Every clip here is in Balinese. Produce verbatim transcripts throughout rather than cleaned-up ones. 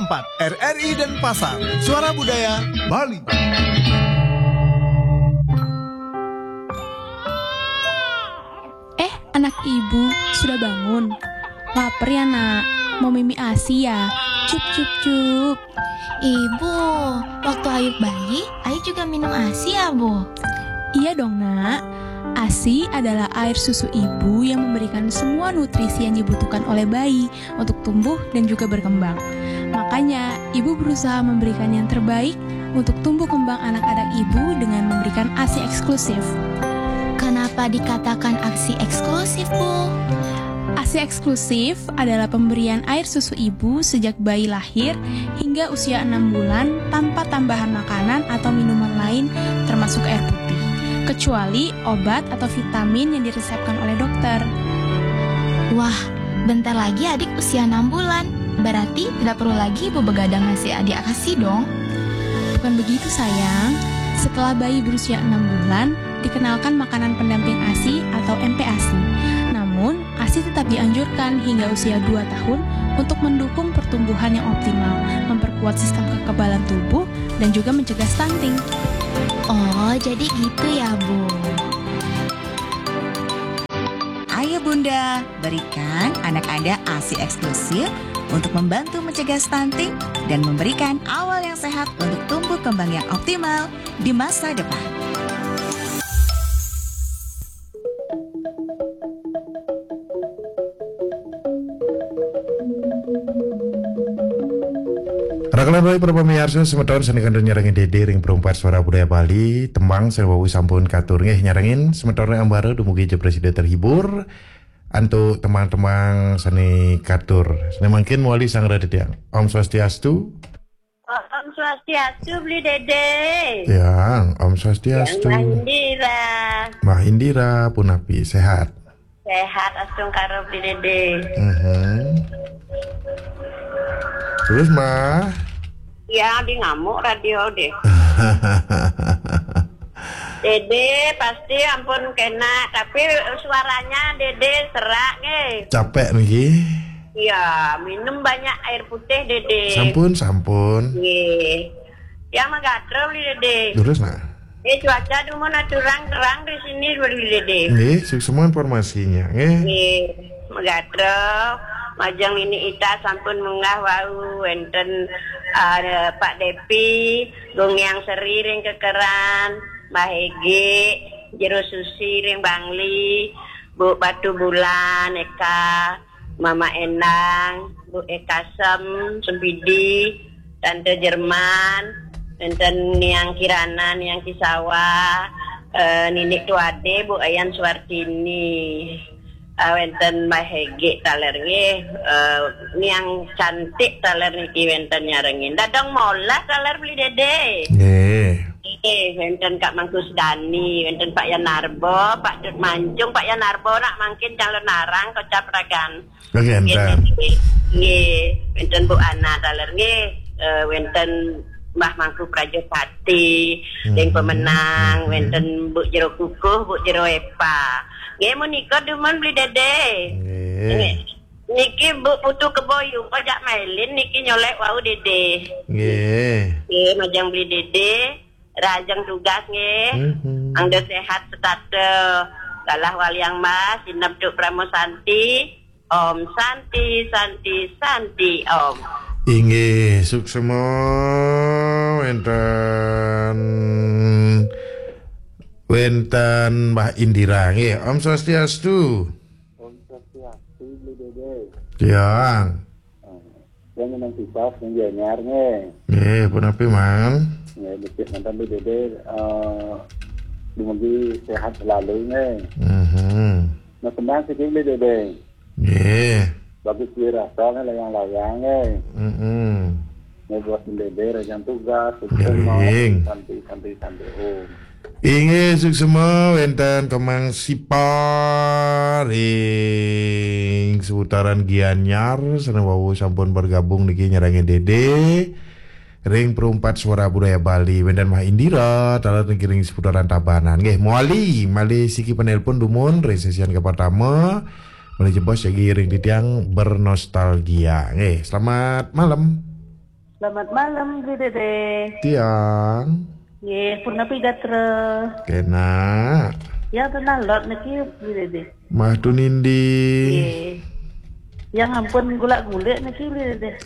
empat R R I Denpasar, Suara Budaya Bali. Eh, anak ibu, sudah bangun? Lapar ya, Nak? Mau mimi ASI ya? Cup, cup, cup. Ibu, waktu Ayu bayi, Ayu juga minum ASI ya, Bu? Iya dong, Nak. ASI adalah air susu ibu yang memberikan semua nutrisi yang dibutuhkan oleh bayi untuk tumbuh dan juga berkembang. Makanya, ibu berusaha memberikan yang terbaik untuk tumbuh kembang anak-anak ibu dengan memberikan ASI eksklusif. Kenapa dikatakan ASI eksklusif, Bu? ASI eksklusif adalah pemberian air susu ibu sejak bayi lahir hingga usia enam bulan tanpa tambahan makanan atau minuman lain, termasuk air putih, kecuali obat atau vitamin yang diresepkan oleh dokter. Wah, bentar lagi adik usia enam bulan. Berarti tidak perlu lagi ibu begadang ngasih adik ASI dong. Bukan begitu, sayang. Setelah bayi berusia enam bulan, dikenalkan makanan pendamping ASI atau M P ASI. Namun, ASI tetap dianjurkan hingga usia dua tahun untuk mendukung pertumbuhan yang optimal, memperkuat sistem kekebalan tubuh, dan juga mencegah stunting. Oh, jadi gitu ya, Bu. Ayo Bunda, berikan anak Anda ASI eksklusif untuk membantu mencegah stunting dan memberikan awal yang sehat untuk tumbuh kembang yang optimal di masa depan. Rakalan rawuh para pamiarsa, semeton sane kantun nyarengin Dede ring Perumpat Suara Budaya Bali, tembang sane wau sampun katur nggih nyarengin semeton ring ambara, dumugi ja prasida terhibur antuk tembang-tembang sane katur. Sane mangkin mawali sareng titiang. Om Swastiastu. Om Swastiastu, Beli Dede. Ya, Om Swastiastu. Yang Mbah Indira. Mbah Indira, punapi, sehat? Sehat, astungkara, Beli Dede. Mhm. Terus, Mbah? Ya, di ngamuk radio deh. Dede pasti ampun kena, tapi suaranya Dede serak nggih. Capek niki? Iya, minum banyak air putih, Dede. Sampun, sampun. Nggih. Yang magatro, Beli Dede. Terus, Nak? Eh, cuaca dumun aturang terang di sini, Beli Dede. Nggih, suksma informasinya, nggih. Nggih, magatro. Majeng nini ita sampun munggah wau, wenten, eh, Pak Depi, Gung Yang Seri ring Kekeran, Mbah Ege, Jero Susi ring Bangli, Bu Batu Bulan, Eka, Mama Endang, Bu Eka Sem, Sempidi, Tante Jerman, wenten Niang Kirana, Niang Kisawa, eh, Ninik Tuade, Bu Ayan Suartini. Ah, wenten Mbah Hege taler nggih, eh, Niang Cantik taler niki wenten nyarengin. Dadong Molas taler, Beli Dede. Nggih. Nggih, wenten Kak Mangkus Dani, wenten Pak Yanarbo, Pak Dut Mancung, Pak Yanarbo nak mangkin calon narang kocap ragan. Nggih, enten. Nggih, wenten Bu Ana taler nggih, eh, wenten Mbah Mangku Prajapati, hmm, Deng Pemenang, hmm, wenten Bu Jero Kukuh, Bu Jero Epa. Nggih, menika dumun, Beli Dede. Nggih. Nggih. Niki Bu Putu Keboyu, pajak mailin niki nyolek wau Dede. Nggih. Nggih, majeng Beli Dede, rajeng tugas nggih. Mhm. Angda sehat setata. Galah waliang mas, sineb Duk Pramo Santi. Om Santi, Santi, Santi, Om. Inggih, suksma wenten, wenten Mbah Indira nggih. Om Swastiastu. Om Swastiastu, Beli Dede. Tiang. Yang menang sifat, yang Gianyar nggih. Nggih, punapi, Man? Nggih, becik mantan Beli Dede, eh, dumugi sehat selalu nggih. Mhm. Nah, kembang siki, Beli Dede. Nggih. Bagus dirasa nggih, layang-layang nggih. Mm-mm. Nggih, buat Beli Dede, rajang tugas, sukses, nggih, mau, santai, santai, santai, Om. Inggih, suksma wenten Kemang Sipa ring seputaran Gianyar, sane wau sampun bergabung niki nyarengin Dede ring Perumpat Suara Budaya Bali, wenten Mbah Indira taler niki ring seputaran Tabanan. Nggih, mawali malih siki penelpon dumun ring sesian kapertama. Malih jebos jagi ring titiang bernostalgia. Nggih, selamat malam. Selamat malam, Bli Dede. Tiang. Nggih, punapi gatra? Kena. Yang tenang lot niki, Bli Dede. Mah tu nindi. Nggih. Yang ampun gulak-gulik niki, Bli Dede.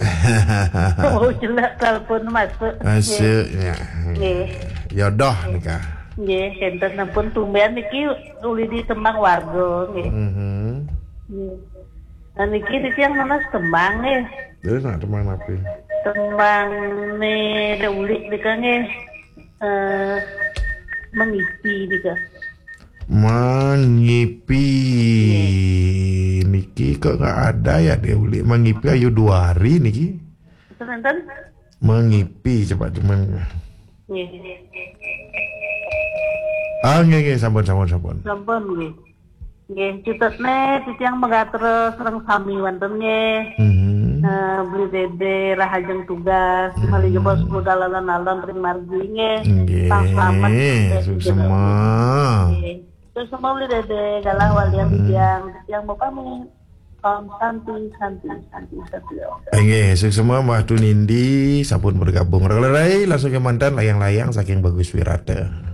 Oh, jelek telepon masuk. Masuknya. Nggih. Jodoh nikah. Nggih, enten ampun tumben niki uli di tembang warga, nggih. Mhm. Nggih. Nah, niki, niki yang mana tembang, nggih. Jadi nak tembang apa? Tembang ne da ulik deka, nggih. Eh, mengipi deka. Mengipi. Niki kok nggak ada ya da ulik mengipi ayu dua hari niki. Enten, enten? Mengipi cepat cuman. Nggih. Ah, nggih, nggih, sampun, sampun, sampun. Sampun, nggih. Nggih, cutetne titiang magatra sareng sami wonten, nggih. Mhm. Eh, Bli Dede rahajeng tugas, Mhm. Malih jebos budal alon-alon ring margi, nggih. Nggih, Tang slamet, nggih, suksma. Nggih. Suksma, Bli Dede, galah walian Mhm. titiang, titiang mau pamit. Om Santi, Santi, Santi, Santi, Om. Nggih, suksma Mbah Tunindi sampun bergabung. Relerai langsung ke mantan layang-layang saking Bagus Wirata.